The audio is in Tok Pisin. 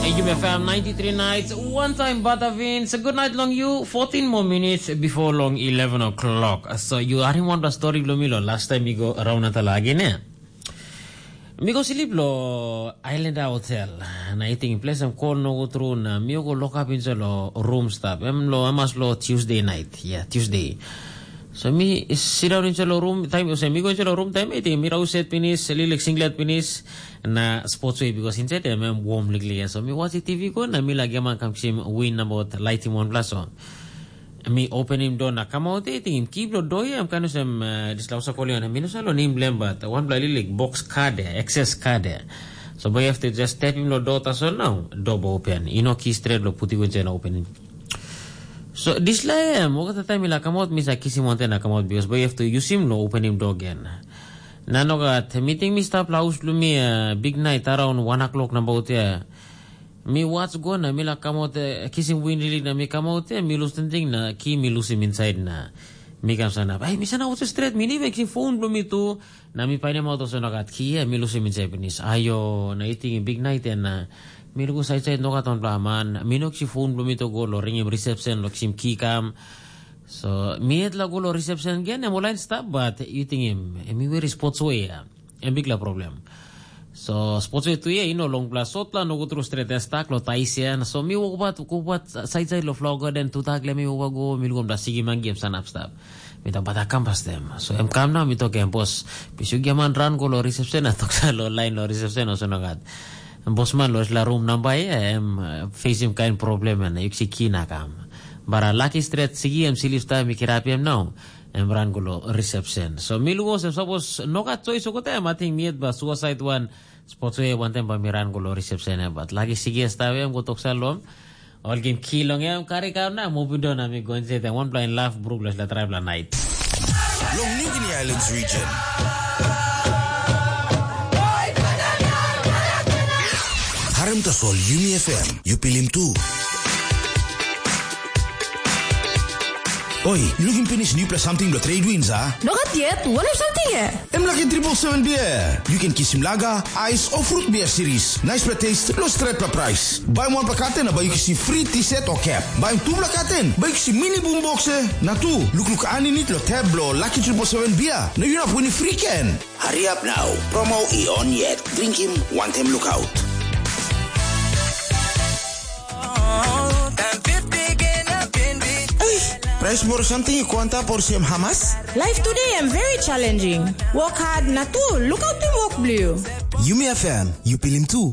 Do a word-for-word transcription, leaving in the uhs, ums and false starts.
Hey, Yumi F M ninety-three nights, one time Batavin. So good night long you. Fourteen more minutes before long eleven o'clock. So you are in one story lo milo last time you go around at the lagine. Mi go sleep lo Islander Hotel. Na I think place em call no go through na mi go lock up inside lo room stop. Em lo amas lo Tuesday night. Yeah, Tuesday. So mi sit down inside lo room time. So mi go inside lo room time. I think mi rau set pinis, lilik singlet pinis. Na sports way because inside em em warm liklik. So mi watch T V go na mi lagi man kam kisim win about lighting one plus one. Mi openim door na kamaut e tingim ki bilong door ya em kan olsem dislausa kolian em minus alo nim blem bat wanpela lilik box card ya, excess card ya. So boy have to just step him lo door tasol now, door bo open. Ino ki straight lo puti wen chen opening. So dislai em, wakata time ila kamaut mi sa kisim wanten na kamaut because boy have to use him lo opening door again. Na no gat, meeting mi stap la haus lo mi uh, big night around one o'clock na bout ya. Mi wats go na mi laik kamap kisim win rilik na mi kamap ya mi lus tingting na ki mi lusim insait na mi kam sanap. Ai mi sanap olsem stret mi ni mekim fon bilong mi tu. Na mi painim aut olsem no gat ki ya mi lusim insait pinis. Ayo na i tingim biknait ya na mi lukus aitsait nogat wanpela man mi no kisim fon bilong mi tu go long ringim risepsen long kisim ki kam. So mi yet la go long risepsen gen em ol lain stap bat yu tingim em i weri spots we ya. Em bikpela problem. So sports way tu ya i no longpela sotpela no go tru stret ya stak lo tais ya. So mi wokabat wokabat sait sait lo flower garden tu tak le mi woka go mi lukom da sigi mangi em sanap stap. Mi tak bata kam pastem. So em kam na mi tok em bos. Pisu giaman ran go lo reception na tok sa lo lain lo reception o sonogat. Bosman lo la room namba ya em uh, facing kain problem ya na yuksi kina kam. Bara lucky stret sigi em silip sta mi kirap em now. Em ran go lo reception. So mi luko sem sapos no gat choice okote em ating mi et ba suicide one. Sports way wantaim ba mi ran go lo reception em bat lagi sigi esta em go toksa lom. Ol gim ki long em kari kam na mubi do na mi go inside em one blind laugh bruk lo sila tribe la night. Long New Guinea Islands region. Harim tasol Yumi F M, you pilim tu. Oi, yu lukim pinis nupela samting bilong trade winds, a? Nogat yet, wanem samting e? Em laki triple seven beer. Yu ken kisim laga, ais o fruit beer series. Naispela taste, lo stretpela price. Baim wanpela katen na bai yu kisim free t-shirt o cap. Baim tupela katen, bai yu kisim mini boom box e. Na tu, lukluk aninit lo tab bilong laki triple seven beer. Na yu inap winim free ken. Hariap nau, promo i on yet. Drinkim wantem lukaut. Ei, prais moro samting i go antap olsem hamas? Life today em very challenging. Work hard na tu, lukautim wok bilong yu. Yumi F M, yu pilim tu.